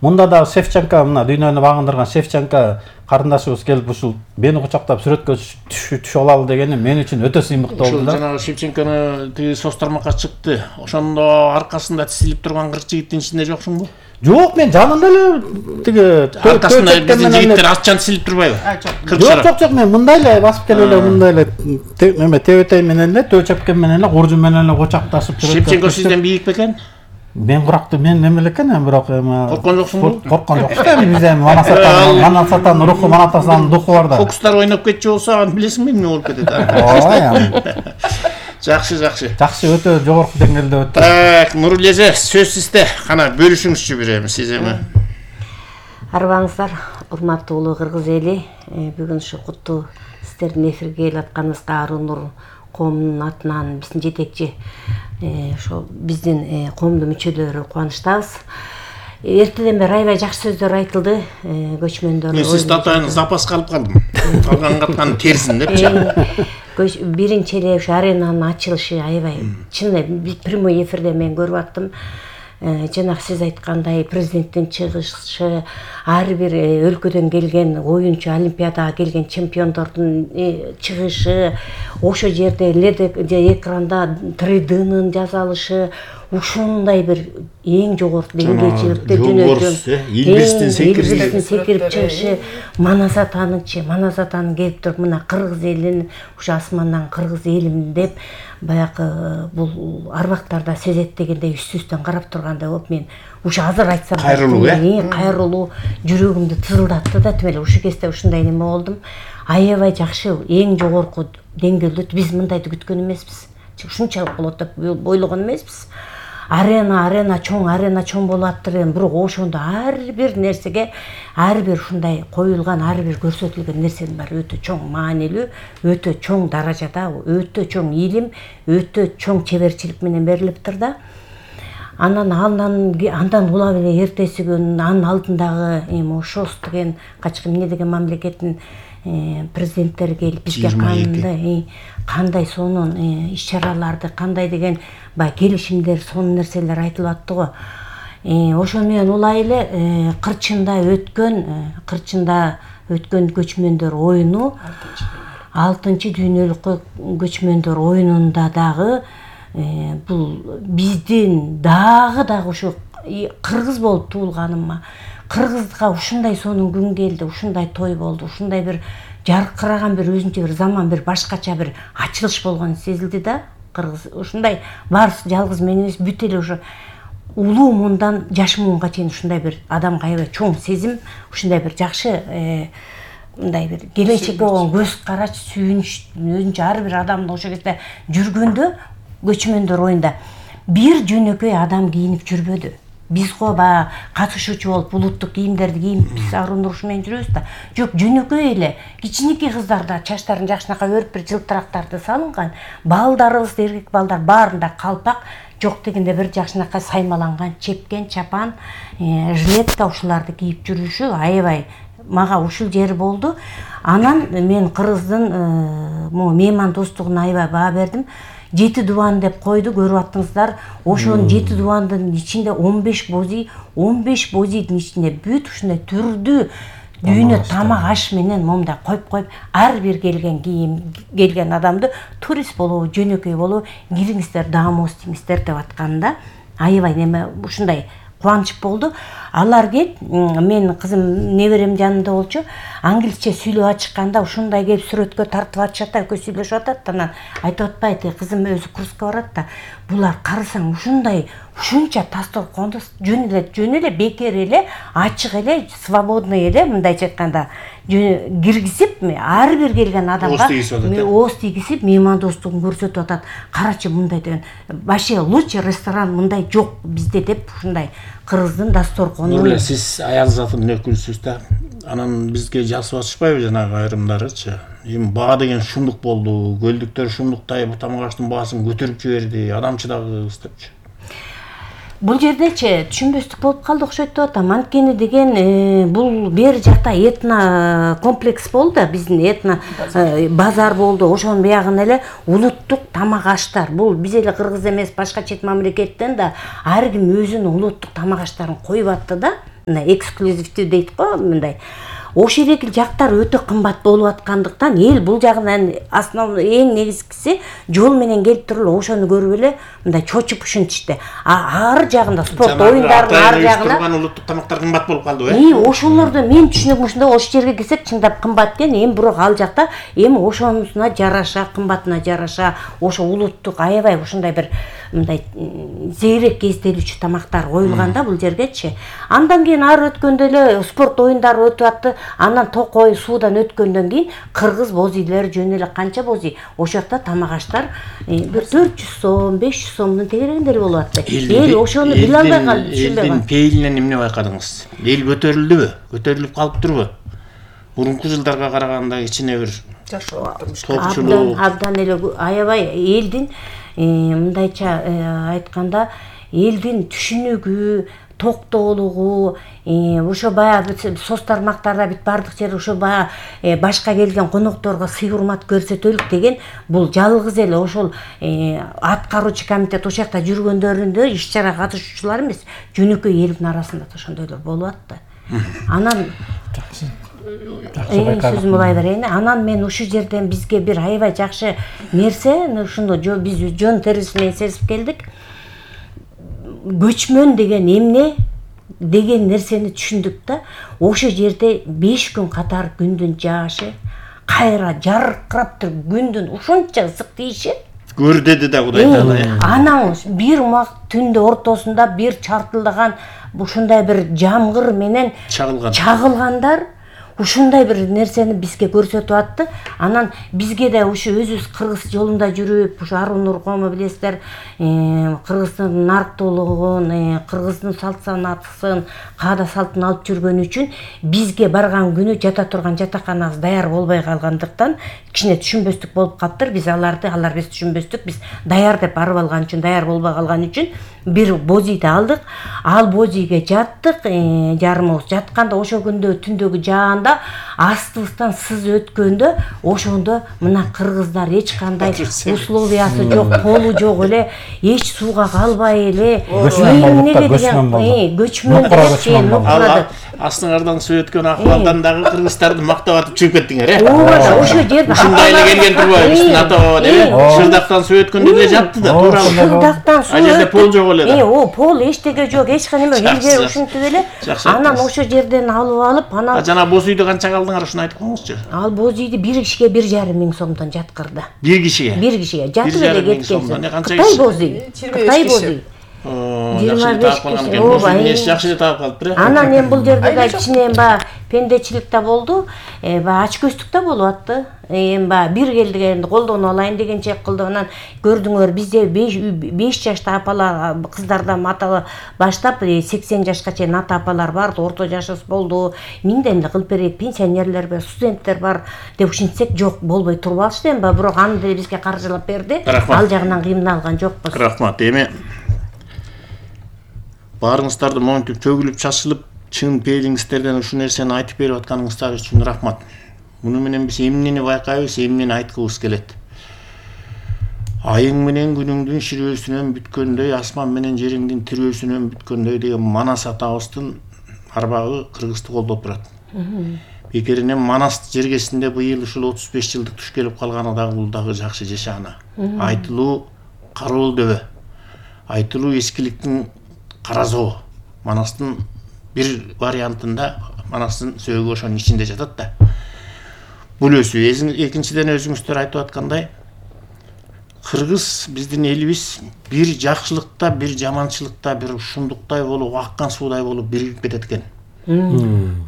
Мында да Шевченко, мына дүйнөнү багындырган Шевченко карындашыбыз келип ушул мени кучактап сүрөткө түшүп алалы дегени мен үчүн өтө сыймыктуу болду да. Жанагы Шевченкону тиги соц тармакка чыкты. Ошондо аркасында тизилип турган 40 жигиттин ичинде жоксуңбу? Жок, мен жанында эле тиги аркасында биздин жигиттер аччан тизилип турбайбы? Жок, мен мындай эле басып келип эле мындай эле эме тебетей менен эле төө чепкен менен эле куржун менен эле кучакташып жүрөт. Шевченко сизден бийик бекен? Мен куракты мен неме элекен, бирок эме корккон жоксуңбу? Корккон жокпуз да, бизде Манасатан руху, Манатасанын духу бар да. Фокустар ойноп кетчү болсо, аны билесиңби эмне болуп кетет? Ооба. Жакшы. Жакшы, өтө жогорку деңгээлде өттү. Так, Нуруле эже, сөз сизде. Кана бөлүшүңүзчү бир эми сиз эми. Арбаңыздар, урматтуу улуу кыргыз эли. Бүгүн ушу куттуу сиздердин эфирге келип атканыңызга Арунур коомунун атынан биздин жетекчи ошо биздин коомдун мүчөлөрү кубанычтабыз. Эртеден бери аябай жакшы сөздөр айтылды. Көчмөндөр. Мен сиз татайын запаска алып калдым. Калган каткан терсин депчи. Биринчи эле ушу аренанын ачылышы аябай чын эле прямой эфирде мен көрүп аттым. Жанагы сиз айткандай президенттин чыгышы, ар бир өлкөдөн келген оюнчу, олимпиадага келген чемпиондордун чыгышы, ошо жерде экранда 3D'нын жасалышы, ушундай бир эң жогорку деңгээлде илбирстин секирип чыгышы, Манасатанын келип туруп мына кыргыз элин ушу асмандан кыргыз элим деп баягы бул арбактарда сезет дегендей үстүстөн карап тургандай болуп, мен ушу азыр айтсам кайрылуу жүрөгүмдү тызылдатты да, тим эле ушу кезде ушундай неме болдум. Аябай жакшы, эң жогорку деңгээлде биз мындайды күткөн эмеспиз. Ушунчалык болот деп ойлогон эмеспиз. Арена чоң болуп аттыр, бирок ошондо ар бир нерсеге, ар бир ушундай коюлган, ар бир көрсөтүлгөн нерсенин баары өтө чоң маанилүү, өтө чоң даражада, өтө чоң илим, өтө чоң чеберчилик менен берилиптир да. Андан улап эле эртеси күн анын алдындагы эми ШОС деген качкы эмне деген мамлекеттин президенттери келип бизге кандай сонун иш-чараларды, кандай деген баягы келишимдер, сонун нерселер айтылып атты го. Ошону менен улай эле Кырчында өткөн көчмөндөр оюну 6-чы дүйнөлүк көчмөндөр оюнунда дагы бул биздин дагы ушу кыргыз болуп туулганыма, кыргызга ушундай сонун күн келди, ушундай той болду, ушундай бир жаркыраган бир өзүнчө бир заман, бир башкача бир ачылыш болгон сезилди да. Кыргыз ушундай баарысы жалгыз мен эмес, бүт эле ушу улуу муундан жаш муунга чейин ушундай бир адамга аябай чоң сезим, ушундай бир жакшы мындай бир келечекке болгон көз карач, сүйүнүч өзүнчө ар бир адамдын ошол кезде жүргөндө көчмөндөр оюнда бир жөнөкөй адам кийинип жүрбөдү. Биз го баягы катышуучу болуп улуттук кийимдерди кийип биз Арунур ушу менен жүрөбүз да. Жок, жөнөкөй эле кичинекей кыздар да чачтарын жакшынака өрүп бир жылтырактарды салынган, балдарыбыз, эркек балдар баарында калпак, жок дегенде бир жакшынакай саймаланган чепкен, чапан, жилетка ушуларды кийип жүрүшү аябай мага ушул жери болду. Анан мен кыргыздын мейман достугуна аябай баа бердим. 7 дубан деп койду, көрүп аттыңыздар. Ошонун 7 дубандын ичинде 15 бозийдин ичинде бүт ушундай түрдүү дүйнө тамак аш менен момундай коюп ар бир келген адамды турист болобу, жөнөкөй болобу, кириңиздер, даамоз тийиңиздер деп атканда аябай неме ушундай кубаныч болду. Алар келип, мен кызым неберем жанында болчу, англисче сүйлөп ачыкканда ушундай келип сүрөткө тартып атышат да, экөө сүйлөшүп атат. Анан айтып атпайт, кызым өзү курска барат да, булар карасаң ушунча дасторконду жөн эле бекер эле, ачык эле, свободный эле, мындайча айтканда киргизип, ар бир келген адамга ооз тийгизип, меймандостугун көрсөтүп атат. Карачы мындай деген, вообще лучший ресторан мындай жок бизде деп ушундай кыргыздын дасторкону. Нурле, сиз аял затынын өкүлүсүз да. Анан бизге жазып атышпайбы жанагы айрымдарычы? Эми баа деген шумдук болду, көлдүктөр шумдуктай тамак аштын баасын көтөрүп жиберди, адамчыдагыбыз депчи. Бул жердечи түшүнбөстүк болуп калды окшойт деп атам. Анткени деген бул бери жакта этно комплекс болду, биздин этно базар болду. Ошонун биягын эле улуттук тамак аштар. Бул биз эле кыргыз эмес, башка чет мамлекеттен да ар ким өзүнүн улуттук тамак аштарын коюп атты да. мындай эксклюзивдүү дейт го, мындай ошол эле жактар өтө кымбат болуп аткандыктан эл бул жагынан основной эң негизгиси жол менен келип туруп ошону көрүп эле мындай чочуп ушинтишти. Ар жагында спорт оюндарынын ар жагына улуттук тамактар кымбат болуп калды ошолорду мен түшүнүгүм ушундай, ошол жерге келсек чындап кымбат экен. Эми бирок ал жакта эми ошонусуна жараша, кымбатына жараша ошо улуттук аябай ушундай бир мындай зээрек эстелүүчү тамактар коюлганда бул жергечи. Андан кийин ары өткөндө эле спорт оюндары өтүп атты. Анан Токой суудан өткөндөн кийин кыргыз боз үйлөр жөн эле канча боз үй. Ошол жакта тамак аштар бир 400 сом, 500 сомдун тегерегиндери болуп атты. Эл ошону биле албай калды, түшүнбөй калды. Пейилинен эмне байкадыңыз? Эл көтөрүлдүбү? Көтөрүлүп калыптырбы? Мурунку жылдарга караганда кичине бир топчулук абдан эле аябай элдин мындайча айтканда элдин түшүнүгү, токтоолугу, ошо баягы соц тармактарда бүт бардык жер ошо баягы башка келген конокторго сый урмат көрсөтөлүк деген бул жалгыз эле ошол аткаруучу комитет ошол жакта жүргөндөрүндө иш чара катышуучулар эмес, жөнөкөй элдин арасында да ошондойлор болуп атты. Анан сөзүм улай берейин. Анан мен ушул жерден бизге бир аябай жакшы нерсе, ушуну биз жөн терисин менен сезип келдик. Көчмөн деген эмне деген нерсени түшүндүк да. Ошол жерде 5 күн катар күндүн жаашы, кайра жаркырап туруп күндүн ушунча ысык тийиши. Көр деди да Кудай таала. Анан бир мак түндө ортосунда бир чартылдаган ушундай бир жамгыр менен чагылгандар ушундай бир нерсени бизге көрсөтүп атты. Анан бизге да ушу өзүбүз кыргыз жолунда жүрүп, ушу Арун Нуркому билесиздер, кыргыздын нарктуулугун, кыргыздын салт санатын, каада салтын алып жүргөн үчүн бизге барган күнү жата турган жатаканабыз даяр болбой калгандыктан кичине түшүнбөстүк болуп калыптыр. Биз алар биз түшүнбөстүк, биз даяр деп барып алган үчүн, даяр болбой калган үчүн бир боз үйдү алдык. Ал боз үйгө жаттык, жарымыбыз жатканда ошол күндө түндөгү жаанда астыбыздан сыз өткөндө ошондо мына кыргыздар эч кандай условиясы жок, колу жок эле, эч сууга калбай эле көчмөн деген астыңардан суу өткөн акыбалдан дагы кыргыздарды мактап атып чыгып кеттиңер, ооба, ошол жерде ушундай эле келген турбайбы, биздин ата баба деп, шырдактан суу өткөндө эле жатты да, туурабы? Шырдактан суу. А жерде пол жок эле. Пол эчтеке жок, эч кандай элге ушинтип эле. Анан ошол жерден алып, анан жана боз үйдө канча калдыңар, ушуну айтып коюңузчу. Ал боз үйдү бир кишиге 1,5 миң сомдон жаткырды. Бир кишиге? Бир кишиге. Жатып эле кеткен. Кытай боз үй. Кытай боз үй. 25 киши. Ооба, жакшы таап калыптыр. Анан эми бул жерде да кичине баягы пендечилик да болду, баягы ачкөздүк да болуп атты. Эми баягы бир келдигенди колдоно алайын дегенче кылды. Анан көрдүңөр, бизде 5 жашта апалар, кыздардан ата баштап 80 жашка чейин ата апалар бар, орто жашыбыз болду. Миңден эле кылып берейик, пенсионерлер бар, студенттер бар деп ушинтсек жок, болбой туруп алышты. Эми бирок аны деле бизге каржылап берди. Ал жагынан кыйналган жокпуз. Рахмат. Эми баарыңыздарды монтип чөгүлүп чачылып чын пейилиңиздерден ушул нерсени айтып берип атканыңыздар үчүн рахмат. Муну менен биз эмнени байкайбыз, эмнени айткыбыз келет. Айың менен күнүңдүн ширөөсүнөн бүткөндөй, асман менен жериңдин тирөөсүнөн бүткөндөй деген Манас атабыздын арбагы кыргызды колдоп турат. Бекеринен Манас жергесинде быйыл ушул 35 жылдык туш келип калганы дагы бул дагы жакшы жашаана. Айтылуу кароол дөбө. Айтылуу эскиликтин каразоо. Манастын бир вариантында Манастын сөөгү ошонун ичинде жатат да. Бул өсүү. Экинчиден өзүңүздөр айтып аткандай, кыргыз биздин элибиз бир жакшылыкта, бир жаманчылыкта, бир ушундуктай болуп, аккан суудай болуп биригип кетет экен.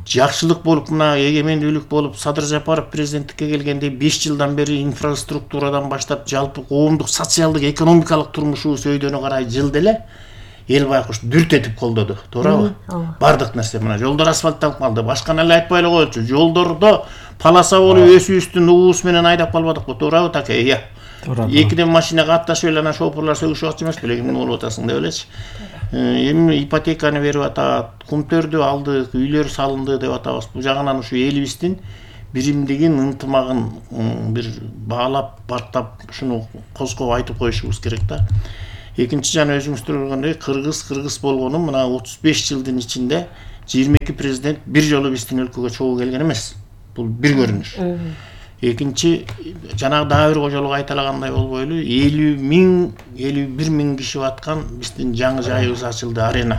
Жакшылык болуп, мына эгемендүүлүк болуп, Садыр Жапаров президенттикке келгенде 5 жылдан бери инфраструктурадан баштап жалпы коомдук социалдык экономикалык турмушубуз өйдөнү карай жылда эле эл байкуш дүрт этип колдоду, туурабы? Бардык нерсе мына жолдор асфальтталып калды. Башканы эле айтпай эле коелучу. Жолдордо полоса болуп өсүүбүздүн уус менен айдап калбадыкпы, туурабы таке? Ыя. Экиден машинага атташып эле анан шоферлор сөгүшүп атчу эмеспи эле, эмне болуп атасың деп элечи. Эми ипотеканы берип атат, кумтөрдү алдык, үйлөр салынды деп атабыз. Бул жагынан ушу элибиздин биримдигин, ынтымагын бир баалап, бартап, ушуну козгоп айтып коюшубуз керек да. Экинчи жана өзүңүздөр көргөндөй кыргыз болгону мына 35 жылдын ичинде 22 президент бир жолу биздин өлкөгө чогуу келген эмес. Бул бир көрүнүш. Экинчи, жанагы дагы бир кожолук айталагандай болбойлу, 51 миң киши баткан биздин жаңы жайыбыз ачылды, арена.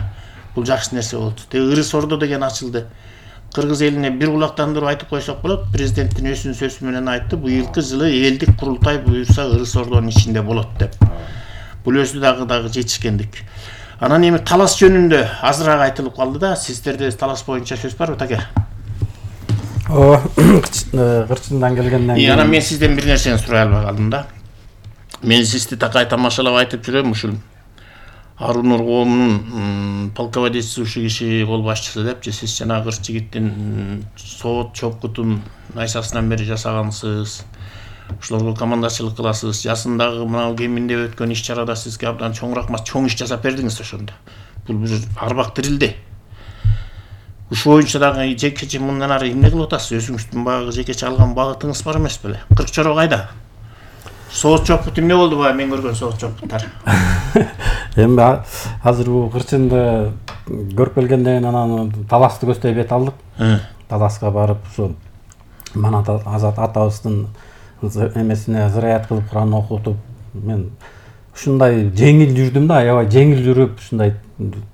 Бул жакшы нерсе болду. Ырыс Ордо деген ачылды. Кыргыз элине бир кулактандырып айтып койсок болот. Президенттин өзүнүн сөзү менен айтты, быйылкы жылы элдик курултай буюрса Ырыс Ордонун ичинде болот деп. Бул өзү дагы жетишкендик. Анан эми талас жөнүндө азыраак айтылып калды да, сиздерде талас боюнча сөз барбы, таке? Кырчындан келгенден кийин анан мен сизден бир нерсени сурай албай калдым да. Мен сизди такай тамашалап айтып жүрөм, ушул Арунур коомунун полководец ушу киши кол башчысы депчи, сиз жана кырс жигиттин соот чопкутун найсасынан бери жасагансыз. Ушуларга командачылык кыласыз. Жасындагы мына кеминде өткөн иш-чарада сизге абдан чоң иш жасап бердиңиз ошондо. Бул бир арбак тирилди. Ушу боюнча дагы жекече мындан ары эмне кылып атасыз? Өзүңүздүн багы жекече алган багытыңыз бар эмес беле? Кыркчоро кайда? Соот чопкут эмне болду баа мен көргөн соот чопкуттар? Эми азыр бул кырчынды көрүп келгенден кийин анан таласты көздөй бет алдык. Таласка барып ушу Манат Азат атабыздын эмесине зыраят кылып Куран окутуп, мен ушундай жеңил жүрдүм да, аябай жеңил жүрүп ушундай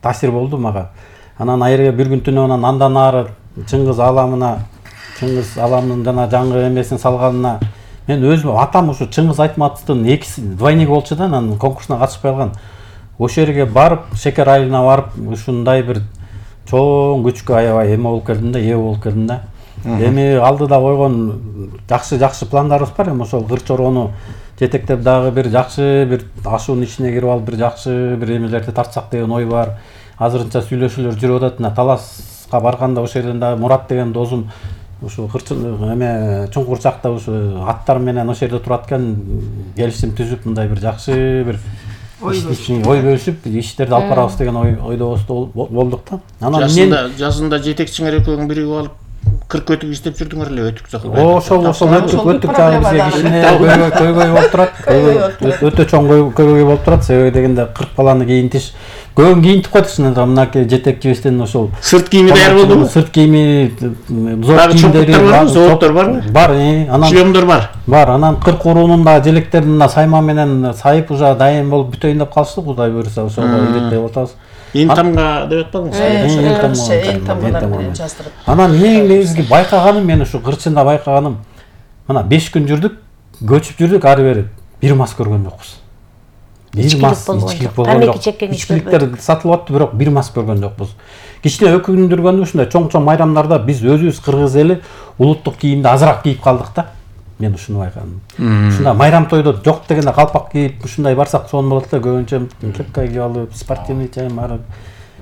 таасир болду мага. Анан айрыга бир күн түнү андан ары Чыңгыз Аламынын жана жаңы эмесин салганына мен өзүм атам ушу Чыңгыз Айтматовдун экиси двойник болчу да, анан конкурсуна катышпай калган. Ошол жерге барып, Шекер айылына барып, ушундай бир чоң күчкө аябай эме болуп келдим да, ээ болуп келдим да. Эми алдыда койгон жакшы пландарыбыз бар. Эми ошол Кырчорону жетектеп дагы бир жакшы бир ашуунун ичине кирип алып, бир жакшы бир эмелерди тартсак деген ой бар. Азырынча сүйлөшүүлөр жүрүп атат. Таласка барганда ошол жерден дагы Мурат деген досум ушу Чуңкурчакта ушу аттар менен ошол жерде турат экен, келишим түзүп мындай бир жакшы бир ой бөлүшүп иштерди алып барабыз деген ойдо болдук да. Анан жазында жетекчиңер экөөң биригип алып 40 өтүк издеп жүрдүңөр эле, өтүк жакылбай. Ошол өтүк жагы бизге кичине көйгөй болуп турат. Өтө чоң көйгөй болуп турат. Себеби дегенде 40 баланы кийинтиш. Көбүн кийинтип койдук шынында. Мынакей жетекчибиздин ошол сырт кийими даяр болдубу? Сырт кийими, зор кийимдери, зооттор барбы? Бар, анан шлемдор бар. Бар, анан 40 уруунун да желектерин сайма менен сайып уже дайым болуп бүтөйүн деп калыштык. Кудай буюрса ошого илеттей атабыз. Интамга деп атпадыңыз? Анан эң негизги байкаганым, мен ушу Кырчында байкаганым, мына 5 күн жүрдүк, көчүп жүрдүк, ары бери бир мас көргөн жокпуз. Бир мас ичкилик болгон жок. Ичкиликтер сатылып атты, бирок бир мас көргөн жокпуз. Кичине өкүндүргөнү ушундай чоң майрамдарда биз өзүбүз кыргыз эли улуттук кийимди азыраак кийип калдык да. Мен ушуну байкадым. Ушундай майрам тойдо жок дегенде калпак кийип ушундай барсак сонун болот да, көбүнчө кепка кийип алып, спортивный чайым барып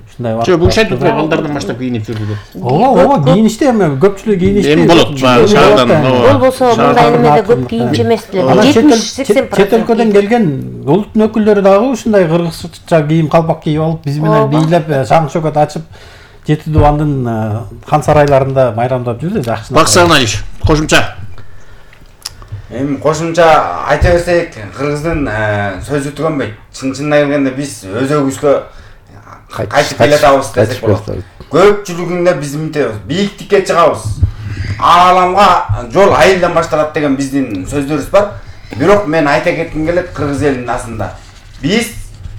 ушундай барып. Жок, бул шайтып балдардан баштап кийинип жүрдү. Ооба, кийиништи, эми көпчүлүк кийиништи. Эми болот, шаардан. Болбосо мындай эмеде көп кийинчи эмес деле. 70-80%. Чет өлкөдөн келген улуттун өкүлдөрү дагы ушундай кыргызча кийим, калпак кийип алып, биз менен бийлеп, шаң шөкөт ачып, Жети Дубандын хан сарайларында майрамдап жүрдү, жакшы. Баксан Алиш, кошумча. Эми кошумча айта берсек, кыргыздын сөзү түгөнбөйт. Чын-чынына келгенде биз өзөгүбүзгө кайтып келатабыз десек болот. Көпчүлүгүндө биз мынтебиз, бийиктикке чыгабыз. Ааламга жол айылдан башталат деген биздин сөздөрүбүз бар. Бирок мен айта кетким келет, кыргыз элинин асында биз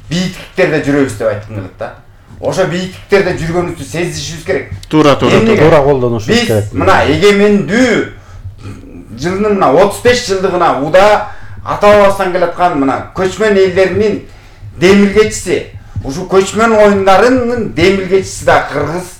бийиктиктерде жүрөбүз деп айткым келет да. Ошо бийиктиктерде жүргөнүбүздү сезишибиз керек. Туура колдонушубуз керек. Биз мына эгемендүү жылдын мына 35 жылдыгына уда ата бабасынан келаткан мына көчмөн элдеринин демилгечиси. Ушу көчмөн оюндарынын демилгечиси да кыргыз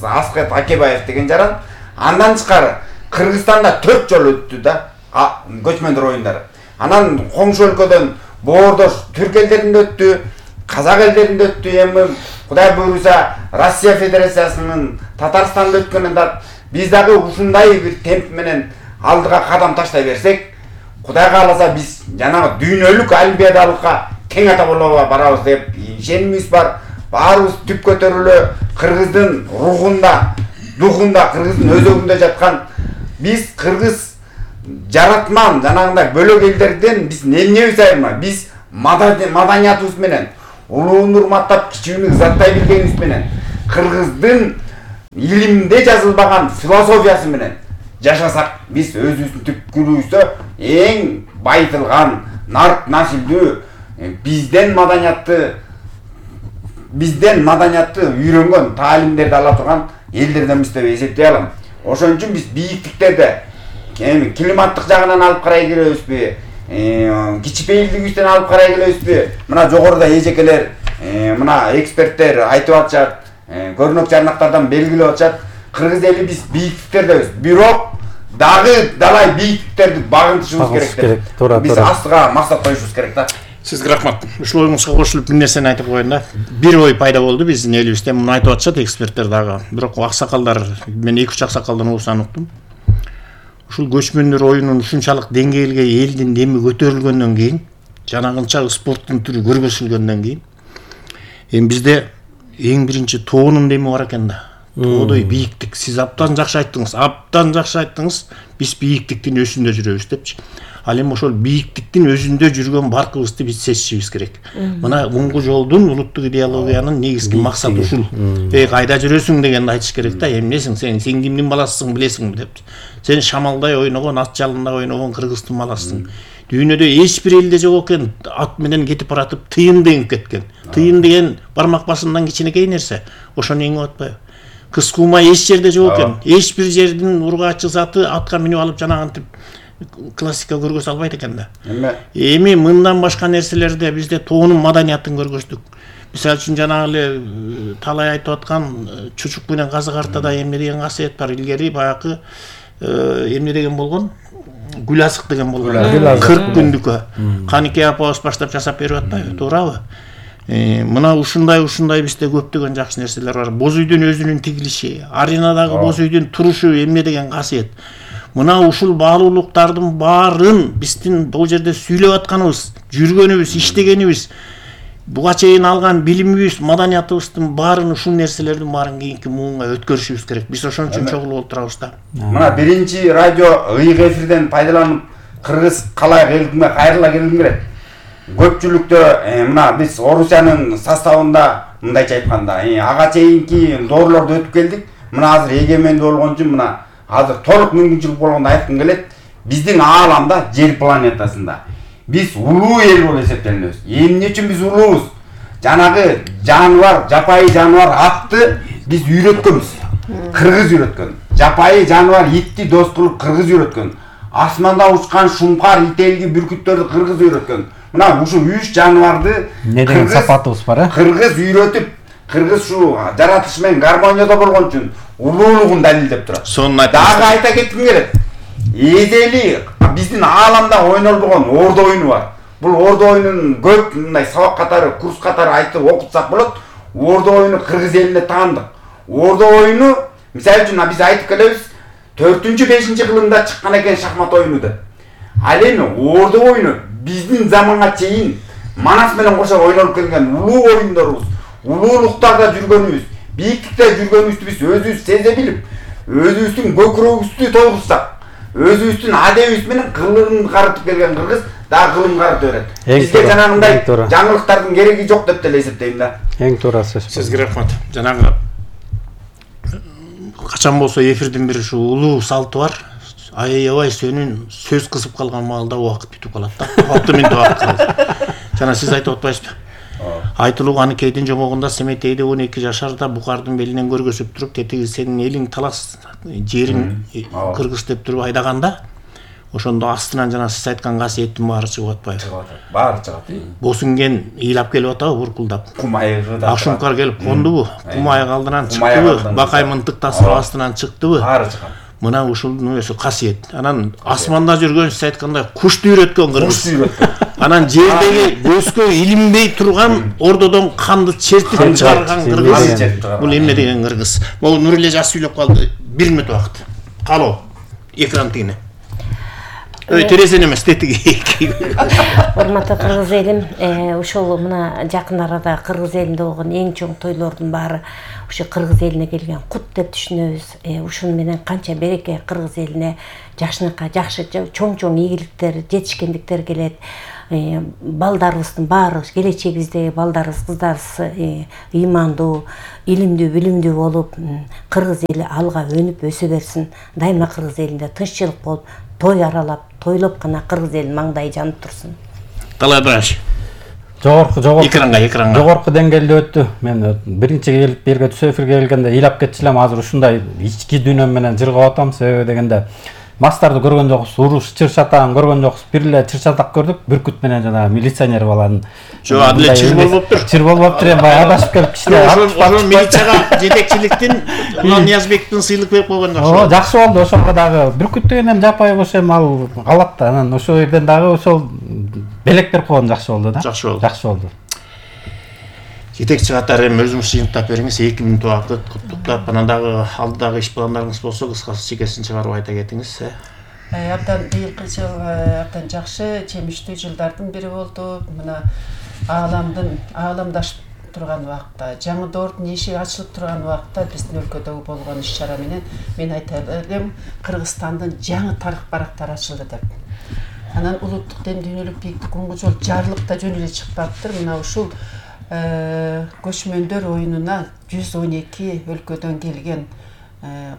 Аскет Акебаев деген жаран. Андан тышкары Кыргызстанда 4 жол өттү да көчмөндөр оюндары. Анан коңшу өлкөдөн боордош түрк элдеринде өттү, казак элдеринде өттү, эми Кудай буйруса Россия Федерациясынын Татарстанда өткөнүндө биз дагы ушундай бир темп менен алдыга кадам таштай берсек, Кудай кааласа биз жанагы дүйнөлүк олимпиадалыкка тең ата болууга барабыз деп ишенимибиз бар. Баарыбыз түп көтөрүлө кыргыздын рухунда, духунда, кыргыздын өзөгүндө жаткан биз кыргыз жаратман жанагындай бөлөк элдерден биз эмнебиз айырма? Биз маданиятыбыз менен улууну урматтап, кичүүнү ызаттай билгенибиз менен кыргыздын илимде жазылбаган философиясы менен жашасак, биз өзүбүздүн түпкүрүбүздө эң байытылган, нарт насилдүү, бизден маданиятты үйрөнгөн, таалимдерди ала турган элдерденбиз деп эсептей алам. Ошон үчүн биз бийиктиктерди климаттык жагынан алып карай келебизби, кичипейилдигибизден алып карай келебизби? Мына жогоруда эжекелер, мына эксперттер айтып атышат, көрүнөк жарнактардан белгилеп атышат. Кыргыз эли биз бийиктиктердебиз. Бирок дагы далай бийиктиктерди багынтышыбыз керек. Биз астыга максат коюшубуз керек да. Сизге рахмат. Ушул оюңузга кошулуп бир нерсени айтып коеюн да. Бир ой пайда болду биздин элибизде. Муну айтып атышат эксперттер дагы. Бирок аксакалдар, мен 2-3 аксакалдан угусан уктум. Ушул көчмөндөр оюнун ушунчалык деңгээлге элдин деми көтөрүлгөндөн кийин, жанагынча спорттун түрү көргөзүлгөндөн кийин, эми бизде эң биринчи тоонун деми бар экен да. Тоодой бийиктик. Сиз абдан жакшы айттыңыз. Биз бийиктиктин өзүндө жүрөбүз депчи. Ал эми ошол бийиктиктин өзүндө жүргөн баркыбызды биз сезишибиз керек. Мына муңгу жолдун улуттук идеологиянын негизги максаты ушул. Кайда жүрөсүң дегенди айтыш керек да. Эмнесиң сен кимдин баласысың билесиңби деп. Сен шамалдай ойногон, ат жалында ойногон кыргыздын баласысың. Дүйнөдө эч бир элде жок экен, ат менен кетип баратып тыйын деген кеткен. Тыйын деген бармак басымдан кичинекей нерсе. Ошону эңип атпайбы? Кыз кумай эч жерде жок экен. Эч бир жердин ургаачы заты атка минип алып жанагынтип классика көргөзө албайт экен да. Эми мындан башка нерселерде бизде тоонун маданиятын көргөздүк. Мисалы үчүн жанагы эле талай айтып аткан чучук менен казык артада эмне деген касиет бар. Илгери баягы эмне деген болгон? Гүл азык деген болгон. 40 күндүккө. Каникей апабыз баштап жасап берип атпайбы? Туурабы? Мына ушундай бизде көптөгөн жакшы нерселер бар. Боз үйдүн өзүнүн тигилиши, аренадагы боз үйдүн турушу эмне деген касиет. Мына ушул баалуулуктардын баарын биздин бул жерде сүйлөп атканыбыз, жүргөнүбүз, иштегенибиз, буга чейин алган билимибиз, маданиятыбыздын баарын, ушул нерселердин баарын кийинки муунга өткөрүшүбүз керек. Биз ошон үчүн чогулуп отурабыз да. Мына биринчи радио ыйык эфирден пайдаланып кыргыз калай элдиме кайрыла келгим келет. Көпчүлүктө мына биз Орусиянын составында мындайча айтканда, ага чейинки доорлорду өтүп келдик. Мына азыр эгемендүү болгон үчүн мына азыр толук мүмкүнчүлүк болгондо айткым келет. Биздин ааламда, жер планетасында биз улуу эл болуп эсептелебиз. Эмне үчүн биз улуубуз? Жанагы жаныбар, жапайы жаныбар атты биз үйрөткөнбүз. Кыргыз үйрөткөн. Жапайы жаныбар итти дос кылып кыргыз үйрөткөн. Асманда учкан шумкар, ителги, бүркүттөрдү кыргыз үйрөткөн. Мына ушул 3 жаныбарды не деген сапатыбыз бар, кыргыз үйрөтүп, кыргыз ушул жаратылыш менен гармонияда болгон үчүн улуулугун далилдеп турат. Дагы айта кетким келет. Эзели биздин ааламда ойнолбогон ордо оюну бар. Бул ордо оюнун көп мындай сабак катары, курс катары айтып окутсак болот. Ордо оюну кыргыз элине таандык. Ордо оюну, мисалы үчүн биз айтып келебиз, 4-5 кылымда чыккан экен шахмат оюну деп. Ал эми ордо оюну биздин заманга чейин Манас менен кошо ойнолуп келген улуу оюндорубуз, улуулуктарда жүргөнүбүз, бийиктикте жүргөнүбүздү биз өзүбүз сезе билип, өзүбүздүн көкүрөгүбүздү тойгузсак, өзүбүздүн адебибиз менен кылымын карытып келген кыргыз дагы кылым карыта берет. Бизге жанагындай жаңылыктардын кереги жок деп деле эсептейм да. Эң туура сөз. Сизге рахмат. Жанагы качан болсо эфирдин бир ушу улуу салты бар. Аябай сөнүн сөз кысып калган маалда убакыт бүтүп калат да. 6 мүнөт убакыт калды. Жана сиз айтып атпайсызбы? Айтылуу Аныкейдин жомогунда Семетейди 12 жашарда букардын белинен көргөзүп туруп, тетиги сенин элиң талас, жериң кыргыз деп туруп айдаганда, ошондо астынан жана сиз айткан касиеттин баары чыгып атпайбы? Баары чыгат. Босунген ыйлап келип атабы буркулдап? Кумайгы да. Акшумкар келип кондубу? Кумайык алдынан чыктыбы? Бакай мынтык тасырып астынан чыктыбы? Баары чыгат. Мына ушунун өзү касиет. Анан асманда жүргөн сиз айткандай кушту үйрөткөн кыргыз. Анан жердеги көзгө илинбей турган ордодон канды чертип чыгарган кыргыз. Бул эмне деген кыргыз? Могу Нуриле жаш сүйлөп калды. 1 мүнөт убакыт. Калоо. Экран тигине. Терезен эмес, тетиги. Урматтуу кыргыз элим, ушул мына жакын арада кыргыз элинде болгон эң чоң тойлордун баары ушу кыргыз элине келген кут деп түшүнөбүз. Ушун менен канча береке кыргыз элине, жашыныкка жакшы чоң игиликтер, жетишкендиктер келет. балдарыбыздын баары келечегибиздеги балдарыбыз кыздарыбыз ыймандуу, илимдүү, билимдүү болуп, кыргыз эли алга өнүп өсө берсин. Дайыма кыргыз элинде тынччылык болуп, той аралап, тойлоп гана кыргыз элинин маңдайы жанып турсун. Талайбаш. Жогорку деңгээлде өттү. Мен биринчи келип берге түшө эфирге келгенде ыйлап кетчү элем, азыр ушундай ички дүйнөм менен жыргап атам. Себеби дегенде мастарды көргөн жокпуз, уруш чыр чатагын көргөн жокпуз. Бир эле чыр чатак көрдүк, бүркүт менен жана милиционер баланын. Жок, адиле чыр болуптур. Чыр болуптур, баягы адашып келип кичине. Ошол милицияга жетекчиликтин Улан Ниязбектин сыйлык берип койгон жакшы. Жакшы болду, ошого дагы бүркүт деген эми жапайы бош эми ал калат да. Анан ошол жерден дагы ошол белек берип койгон жакшы болду да. Жакшы болду. Жетекчи катары эми өзүңүз жыйынтап бериңиз, 2 мүнөт убакыт куттуктап, анан дагы алдыдагы иш пландарыңыз болсо кыскасы чекесин чыгарып айта кетиңиз. Абдан быйылкы жыл абдан жакшы, жемиштүү жылдардын бири болду. Мына ааламдашып турган убакта, жаңы доордун эшиги ачылып турган убакта биздин өлкөдөгү болгон иш-чара менен мен айта элем, Кыргызстандын жаңы тарых барактары ачылды деп. Анан улуттук дем дүйнөлүк бийиктик уңгу жол жарлык да жөн эле чыкпаптыр. Мына ушул көчмөндөр оюнуна 112 өлкөдөн келген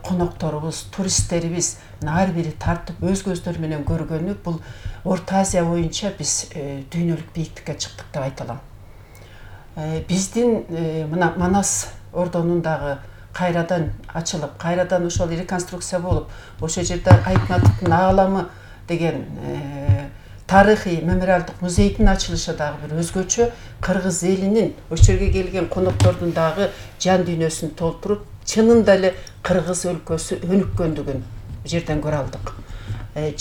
конокторубуз, туристтерибиз ар бири тартып өз көздөрү менен көргөнү, бул Орто Азия боюнча биз дүйнөлүк бийиктикке чыктык деп айта алам. Биздин мына Манас ордонун дагы кайрадан ачылып, кайрадан ошол реконструкция болуп, ошол жерде Айтматовдун ааламы деген тарыхый мемориалдык музейдин ачылышы дагы бир өзгөчө, кыргыз элинин ошол жерге келген коноктордун дагы жан дүйнөсүн толтуруп, чынында эле кыргыз өлкөсү өнүккөндүгүн жерден көрө алдык.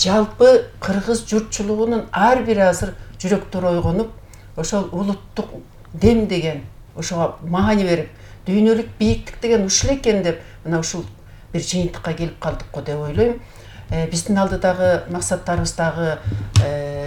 Жалпы кыргыз журтчулугунун ар бири азыр жүрөктөрү ойгонуп, ошол улуттук дем деген ошого маани берип, дүйнөлүк бийиктик деген ушул экен деп, мына ушул бир жыйынтыкка келип калдык го деп ойлойм. Биздин алдыдагы максаттарыбыз дагы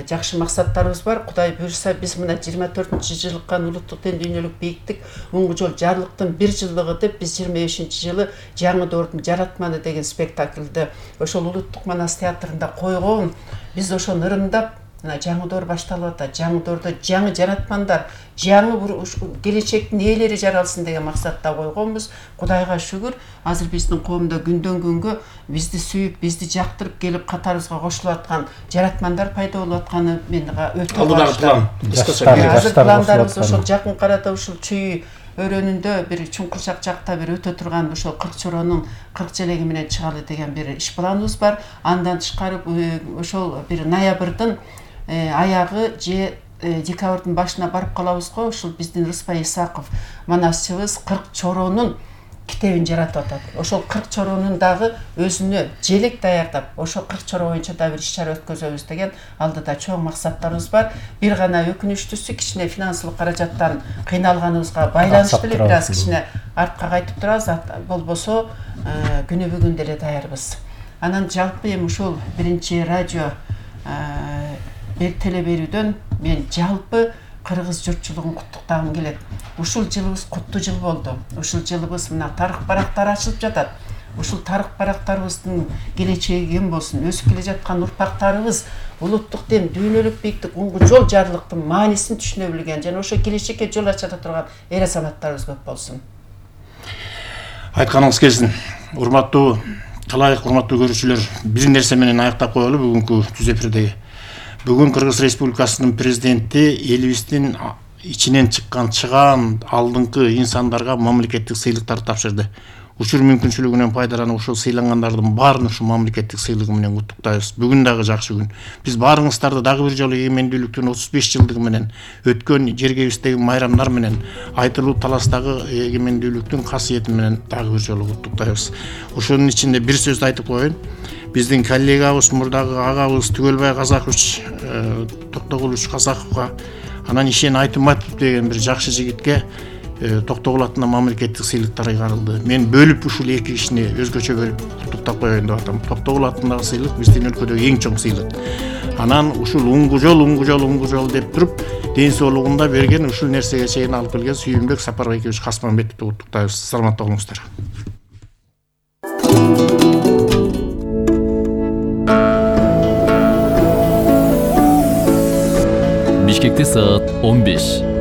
жакшы максаттарыбыз бар. Кудай буйрса, биз мына 24-жылыкка улуттук ден дүйнөлүк бийиктик уңгу жол жарлыктын 1 жылдыгы деп биз 25-жылы жаңы доордун жаратманы деген спектакльди ошол улуттук Манас театрында койгон. Биз ошону ырымдап, мына жаңы доор башталып атат. Жаңы доордо жаңы жаратмандар, жаңы келечектин ээлери жаралсын деген максатта койгонбуз. Кудайга шүгүр, азыр биздин коомдо күндөн күнгө бизди сүйүп, бизди жактырып келип катарыбызга кошулуп аткан жаратмандар пайда болуп атканы мен өтө план. Азыр пландарыбыз ошол жакын арада ушул Чүй өрөөнүндө бир Чуңкурчак жакта бир өтө турган ошол 40 чоронун 40 желеги менен чыгалы деген бир иш планыбыз бар. Андан тышкары ошол бир ноябрдын аягы же декабрдын башына барып калабыз го. Ушул биздин Рыспай Исаков манасчыбыз 40 чоронун китебин жаратып атат. Ошол 40 чоронун дагы өзүнө желек даярдап, ошол 40 чоро боюнча да бир иш-чара өткөзөбүз деген алдыда чоң максаттарыбыз бар. Бир гана өкүнүчтүүсү кичине финансылык каражаттан кыйналганыбызга байланыштуу эле бир аз кичине артка кайтып турабыз. Болбосо күнү бүгүн деле даярбыз. Анан жалпы эми ушул биринчи радио теле берүүдөн мен жалпы кыргыз журтчулугун куттуктагым келет. Ушул жылыбыз куттуу жыл болду. Ушул жылыбыз мына тарых барактары ачылып жатат. Ушул тарых барактарыбыздын келечеги кем болсун, өсүп келе жаткан урпактарыбыз улуттук дем дүйнөлүк бийиктик уңгу жол жарлыктын маанисин түшүнө билген жана ошо келечекке жол ача турган эр азаматтарыбыз көп болсун. Айтканыңыз келсин. Урматтуу талайык урматтуу көрүүчүлөр, бир нерсе менен аяктап коелу бүгүнкү түз эфирдеги. Бүгүн Кыргыз Республикасынын президенти элибиздин ичинен чыган алдыңкы инсандарга мамлекеттик сыйлыктарды тапшырды. Учур мүмкүнчүлүгүнөн пайдаланып ушул сыйлангандардын баарын ушул мамлекеттик сыйлыгы менен куттуктайбыз. Бүгүн дагы жакшы күн. Биз баарыңыздарды дагы бир жолу эгемендүүлүктүн 35 жылдыгы менен өткөн жергебиздеги майрамдар менен айтылуу таластагы эгемендүүлүктүн касиети менен дагы бир жолу куттуктайбыз. Ошонун ичинде бир сөз айтып коеюн. Биздин коллегабыз, мурдагы агабыз Түгөлбай Казакович, Токтогулович Казаковго, анан Ишен Айтымбатов деген бир жакшы жигитке Токтогул атынан мамлекеттик сыйлыктар ыйгарылды. Мен бөлүп ушул эки кишини өзгөчө бөлүп куттуктап коеюн деп атам. Токтогул атындагы сыйлык биздин өлкөдөгү эң чоң сыйлык. Анан ушул уңгу жол деп туруп, ден соолугунда берген ушул нерсеге чейин алып келген Сүйүнбек Сапарбекович Касманбетовду куттуктайбыз. Саламатта болуңуздар. Бишкекте саат 15.